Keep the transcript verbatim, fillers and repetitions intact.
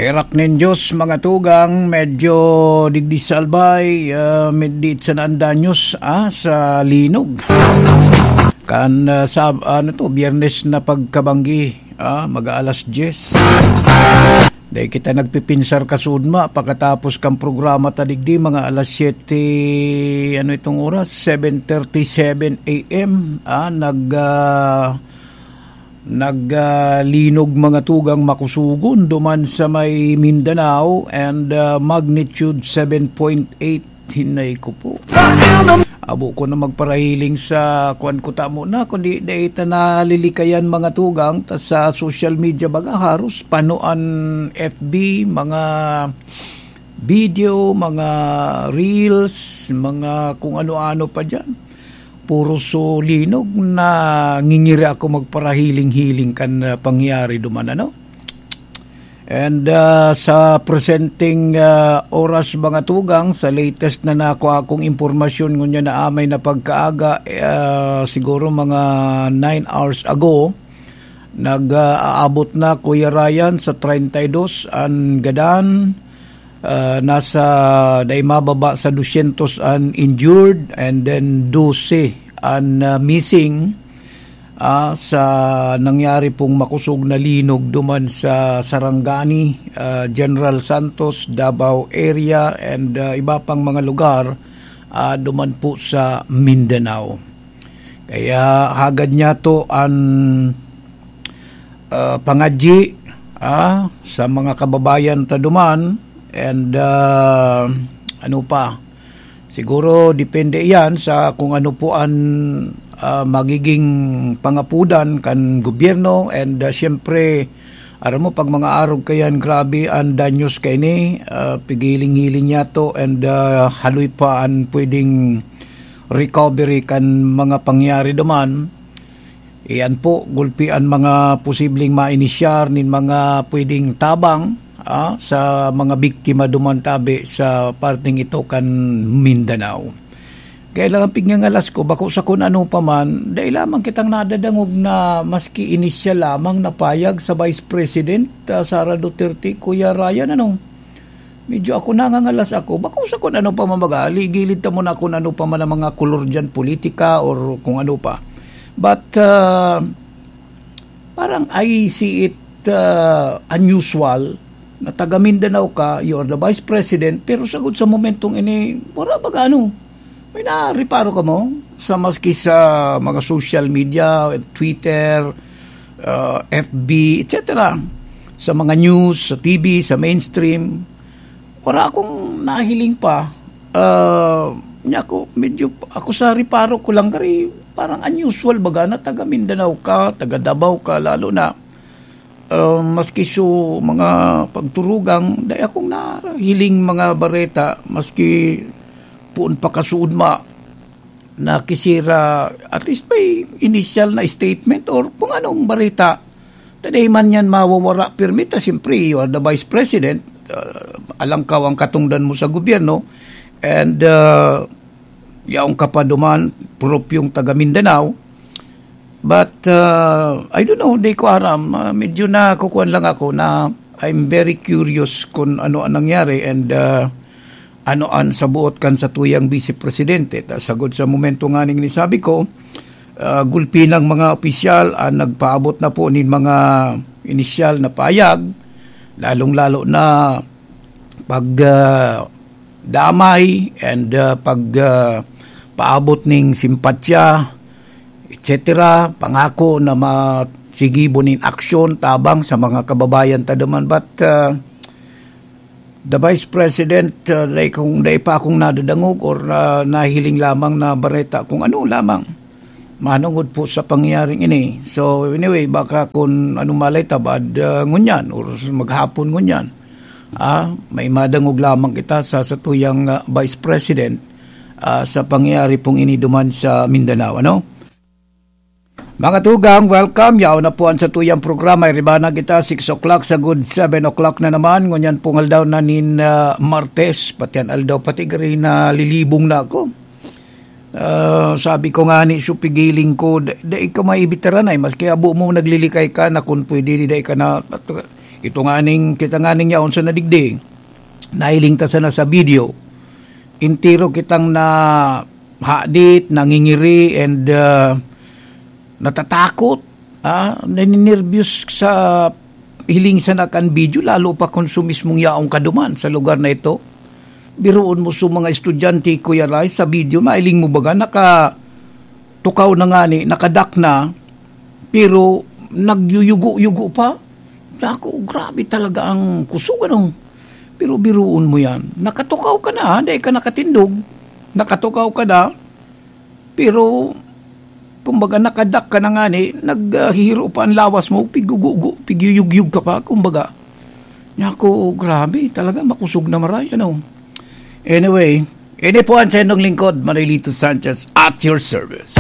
Erak nin Diyos, mga tugang, medyo digdi sa albay, ah, medyo sa naan danyos, ah, sa linog. Kan, ah, sab-, ano to, Biyernes na pagkabanggi, ah, mag-aalas diyes. Dai kita nagpipinsar kasudma, pakatapos kan programa ta digdi, mga alas siyete, ano itong oras? Seven thirty-seven A M, ah, nag, ah, nag, ah, linog mga tugang makusugon duman sa may Mindanao and, ah, magnitude seven point eight, hinay ko po. Abo ko na magparahiling sa kuwan ko tamo na, kundi dai ta nalilikayan mga tugang, ta sa social media baga haros pano an F B, mga video, mga reels, mga kung ano-ano pa diyan. Puro sulinog na ngingiri ako magparahiling-hiling kan, ah, pangyayari duman, ano? And, ah, sa presenteng, ah, oras, mga tugang, sa latest na nakuha kong impormasyon, ngunyan na amay na pagkaaga, ah, siguro mga nine hours ago, nag, ah, aabot na, Kuya Ryan, sa treinta y dos an gadan, ah, nasa dai mababa sa dosyentos an injured, and then dose an, ah, missing, ah, sa nangyari pong makusog na linog duman sa Sarangani, ah, General Santos, Davao area, and, ah, iba pang mga lugar, ah, duman po sa Mindanao. Kaya hagad niya to an, ah, pangadyi, ah, sa mga kababayan ta duman, and, ah, ano pa, siguro depende iyan sa kung ano po an, ah, magiging pangapudan kan gobyerno, and, ah, siyempre, aram mo, pag mga arog kayan, grabe an danyos kaini, ah, pigiling-hiling niya to, and, ah, haloy pa an pwedeng recovery kan mga pangyayari duman. Iyan po, gulpi an mga posibleng mainisyar nin mga pwedeng tabang, ah, sa mga biktima duman tabi sa parteng ito kan Mindanao. Kaya lang ang pigngangalas ko, bako sa kun ano pa man, dai lamang kitang nadadangog na maski inisyal lamang na payag sa Vice President, ah, Sara Duterte, Kuya Ryan, ano? Medyo ako nangangalas ako. Bako sa kun ano pa man baga, ligilid ta muna kun ano pa man ang mga kolor diyan, politika or kung ano pa. But, ah, parang I see it, ah, unusual na taga Mindanao ka, you are the vice president, pero sagod sa momentong ini, wala baga ano, may nareparo ka mo sa maski sa mga social media, Twitter, ah, F B, et cetera. Sa mga news, sa T V, sa mainstream, wala akong nahiling pa. Ah, niya ako, medyo ako sa reparo ko lang, kari parang unusual baga na taga Mindanao ka, taga Davao ka, lalo na, ah, maski so mga pagturugang, dai akong nahiling mga bareta, maski poon pa kasuodma na kisira, at least may initial na statement or kung anong bareta. Taday man yan mawawara pirmi ta, siyempre, you are the vice president, ah, alangkaw ang katungdan mo sa gobyerno, and, ah, yaon ka pa duman, propyong taga Mindanao. But, ah, I don't know, di ko aram. Ah, medyo nakukuan lang ako na I'm very curious kung ano ang nangyari, and, ah, ano an sabuot kan satuyang Vice Presidente. Ta sagod sa momento nga ning nisabi ko, ah, gulpi ng mga opisyal ang nagpaabot na po nin mga inisyal na payag, lalong-lalo na pag, ah, damay and, ah, pag, ah, paabot ning simpatya, et cetera. Pangako na masigibo nin aksyon tabang sa mga kababayan ta duman. But, ah, the Vice President, ah, dai kong, dai pa akong nadadangog or, ah, nahiling lamang na bareta kung ano lamang manungod po sa pangyayaring ini. So, anyway, baka kung ano malay tabad, ah, ngunyan or maghapon ngunyan, ah, may madangog lamang kita sa satuyang, ah, Vice President, ah, sa pangyayari pong ini duman sa Mindanao, ano? Mga tugang, welcome. Yaon na po ang satuyang programa. Iriba na kita, six o'clock, sa good seven o'clock na naman. Ngunyan pong aldaw na nin, ah, Martes, pati ang aldaw, pati gari na lilibong na ako. Ah, sabi ko nga ni, so pigiling ko, da-, dai ka maibitaran ay, maski abo mo naglilikay ka na kung pwede, di dai ka na, Ito nganing, kita nganing yaon sa nadigdi, nahiling ta sana sa video. Entero kitang nahadit, nangingiri, and, ah, natatakot, ah, naninerbyos sa hiling sana kan video, lalo pa kung su mismong yaong kaduman sa lugar na ito. Biruon mo su mga estudyante, Kuya Rai, sa video, mahiling mo baga, nakatukaw na ngani, nakadak na, pero nagyuyugo-yugo pa. Naku, grabe talaga ang kusog, ano? Pero biruon mo yan. Nakatukaw ka na, ha? Dahil ka nakatindog. Nakatukaw ka na. Pero, kumbaga, nakadak ka na ngani, naghihiro pa ang lawas mo, pigugugo, pigyuyugyug ka pa, kumbaga. Naku, grabe, talaga makusog na maray, ano? Anyway, ini po ang sa inyong lingkod, Marilito Sanchez, at your service.